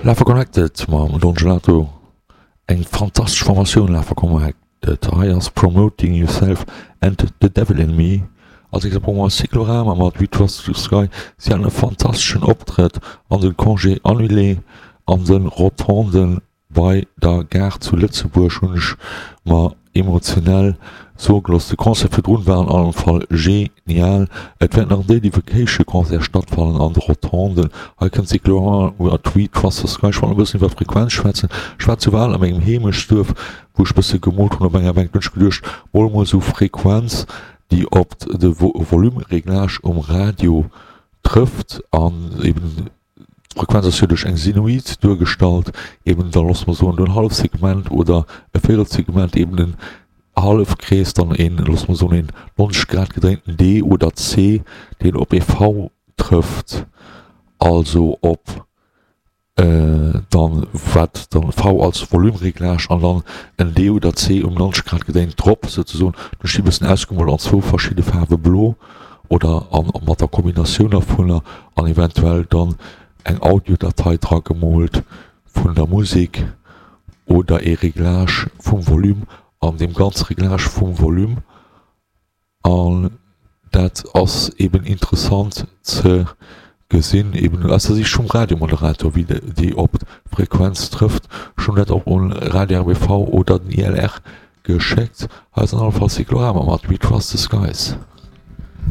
Love Connected mam Don Gelato, eng fantastesch Formatioun Love Connected. Hei ass Promoting Yourself and the Devil in Me. Als nächst brauche mer Cyclorama mat We Trust the Sky. Si haten e fantasteschen Optrëtt an den Congé annulé an den Rotonden. Bei der Gare zu Lëtzebuerg hunn ech mer emotionell soe gelooss, de Concert virdrun war an allem Fall genial. Et wäert nach en Daily Vacation Concert stattfannen an de Rotonden. Hei kënnt Cyclorama mat We Trust the Sky. Ech wollt nach e bëssen iwwer Frequenz schwätzen. Ech war zu Wal a mengem Heemechtsduerf, wou ech bësse gemoolt hunn op enger Bänk. Do hunn ech geduecht, mol emol esou Frequenz, déi op de Volume-Reglage um Radio trëfft an eben D'Frequenz ass jo duerch eng Sinoid duergestallt, eben da loosse mer soen en Hallefsegment oder e Véirelsegment, eben en Hallefkrees, dann een, loosse mer soen een 90 Grad gedréinten D oder C, deen op ee V trëfft, also op dann wat dann V als Volume-Reglage an dann en D oder C um 90 Grad gedréint drop souzesoen. Do sti bëssen ausgemoolt an zwou verschidde Faarwe blo. oder an mat der Kombinatioun dervunner an eventuell dann eng Audiodatei dra gemoolt vun der Musek oder ee Reglage vum Volume an deem ganze Reglage vum Volume an dat ass eben interessant ze gesinn eben aus der Sicht vum Radiomoderator wéi déi op d'Frequenz trëfft. Ech hunn dat och un Radio RBV oder den ILR geschéckt. Hei ass an alle Fall Cyclorama mat We Trust the Skies.